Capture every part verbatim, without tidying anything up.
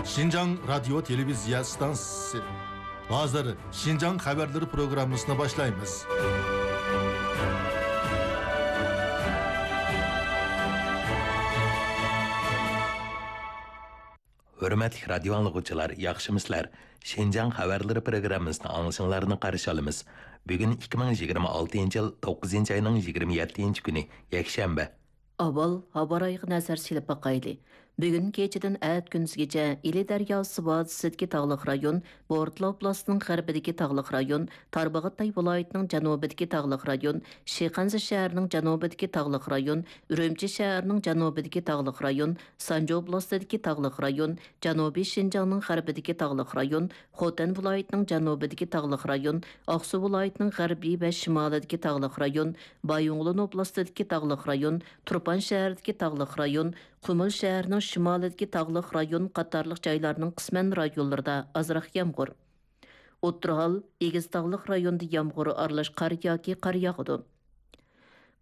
شىنجاڭ رادىيو تېلېۋىزىيە ئىستانسىسى. ھازىر شىنجاڭ خەۋەرلىرى پروگراممىسىنى باشلايمىز. ھۆرمەتلىك رادىيو ئاڭلىغۇچىلار، ياخشىمۇسىلەر؟ شىنجاڭ خەۋەرلىرى پروگراممىسىنى ئاڭلىشىڭلارنى قارشى ئالىمىز. بۈگۈن ئىككى مىڭ يىگىرمە ئالتىنچى يىل توققۇزىنچى ئاينىڭ يىگىرمە يەتتىنچى كۈنى، يەكشەنبە. ئاۋۋال ھاۋا رايىغا نەزەر سېلىپ باقايلى. بۈگۈن كېچىدىن ئەتە كۈندۈزگىچە ئىلى دەرياسى ۋادىسىدىكى تاغلىق رايون، بورتالا ئوبلاستىنىڭ غەربىدىكى تاغلىق رايون، تارباغاتاي ۋىلايىتىنىڭ جەنۇبىدىكى تاغلىق رايون، شىخەنزە شەھىرىنىڭ جەنۇبىدىكى تاغلىق رايون، ئۈرۈمچى شەھىرىنىڭ جەنۇبىدىكى تاغلىق رايون، سانجى ئوبلاستىدىكى تاغلىق رايون، جەنۇبىي شىنجاڭنىڭ غەربىدىكى تاغلىق رايون، خوتەن ۋىلايىتىنىڭ جەنۇبىدىكى تاغلىق رايون، ئاقسۇ ۋىلايىتىنىڭ غەربىي ۋە شىمالىدىكى تاغلىق رايون، بايىنغولىن ئوبلاستىدىكى تاغلىق رايون، تۇرپان شەھىرىدىكى تاغلىق رايون، قۇمۇل شەھىرىنىڭ شىمالىدىكى تاغلىق رايون قاتارلىق جايلارنىڭ قىسمەن رايونلىرىدا ئازراق يامغۇر. ئوتتۇرا ھال، ئېگىز تاغلىق رايوندا يامغۇر ئارىلاش قار ياكى قار ياغىدۇ.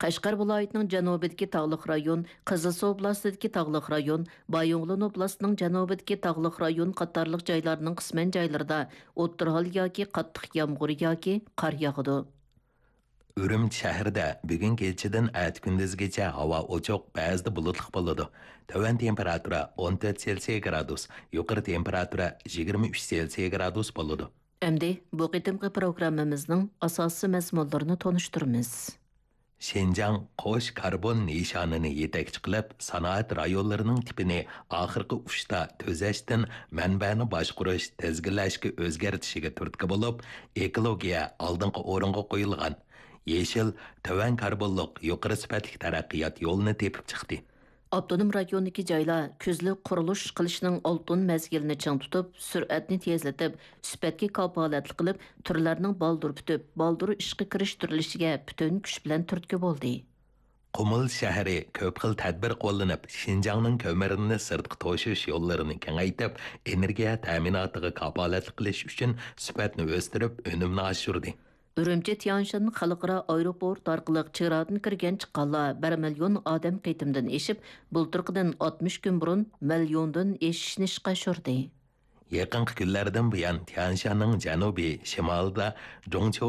قەشقەر ۋىلايىتىنىڭ جەنۇبىدىكى تاغلىق رايون، قىزىلسۇ ئوبلاستىدىكى تاغلىق رايون، بايىنغولىن ئوبلاستىنىڭ جەنۇبىدىكى تاغلىق رايون قاتارلىق جايلارنىڭ قىسمەن جايلىرىدا ئوتتۇرا ھال ياكى قاتتىق يامغۇر ياكى قار ياغىدۇ. ئۈرۈمچى شەھىرىدە بۈگۈن كېچىدىن ئەتە كۈندۈزگىچە ھاۋا ئوچۇق، بەزىدە بۇلۇتلۇق بولىدۇ. تۆۋەن تېمپېراتۇرا ئون تۆت سېلسىيە گرادۇس، يۇقىرى تېمپېراتۇرا يىگىرمە ئۈچ سېلسىيە گرادۇس بولىدۇ. ئەمدى بۇ قېتىمقى پروگراممىمىزنىڭ ئاساسىي مەزمۇنلىرىنى تونۇشتۇرىمىز. شىنجاڭ قوش كاربون نىشانىنى يېتەكچى قىلىپ، سانائەت رايونلىرىنىڭ تىپىنى ئاخىرقى ئۇچتا تۈزەشتىن مەنبەنى باشقۇرۇش، تىزگىنلەشكە ئۆزگەرتىشىگە تۈرتكە بولۇپ، ئېكولوگىيە ئالدىنقى ئورۇنغا قويۇلغان يېشىل، تۆۋەن كاربونلۇق، يۇقىرى سۈپەتلىك تەرەققىيات يولىنى تېپىپ چىقتى. ئاپتونوم رايوندىكى جايلار كۈزلۈك قۇرۇلۇش قىلىشنىڭ ئالتۇن مەزگىلىنى چىڭ تۇتۇپ، سۈرئەتنى تېزلىتىپ، سۈپەتكە كاپالەتلىك قىلىپ، تۈرلەرنىڭ بالدۇر پۈتۈپ، بالدۇر ئىشقا كىرىشتۈرۈلۈشىگە پۈتۈن كۈچ بىلەن تۈرتكە بولدى. قۇمۇل شەھىرى كۆپ خىل تەدبىر قوللىنىپ، شىنجاڭنىڭ كۆمۈرىنى سىرتقا توشۇش يوللىرىنى كېڭەيتىپ، ئېنېرگىيە تەمىناتىغا كاپالەتلىك قىلىش ئۈچۈن سۈپەتنى ئۆستۈرۈپ، ئۈنۈمنى ئاشۇردى. ئۈرۈمچى تيەنشان خەلقئارا ئايروپورت ئارقىلىق چېگرادىن كىرگەن چىققانلار بىر مىليون ئادەم قېتىمدىن ئېشىپ، بۇلتۇرقىدىن ئاتمىش كۈن بۇرۇن مىليوندىن ئېشىشنى ئىشقا ئاشۇردى. يېقىنقى كۈنلەردىن بۇيان، تيەنشاننىڭ جەنۇبىي شىمالىدا جۇڭچيۇ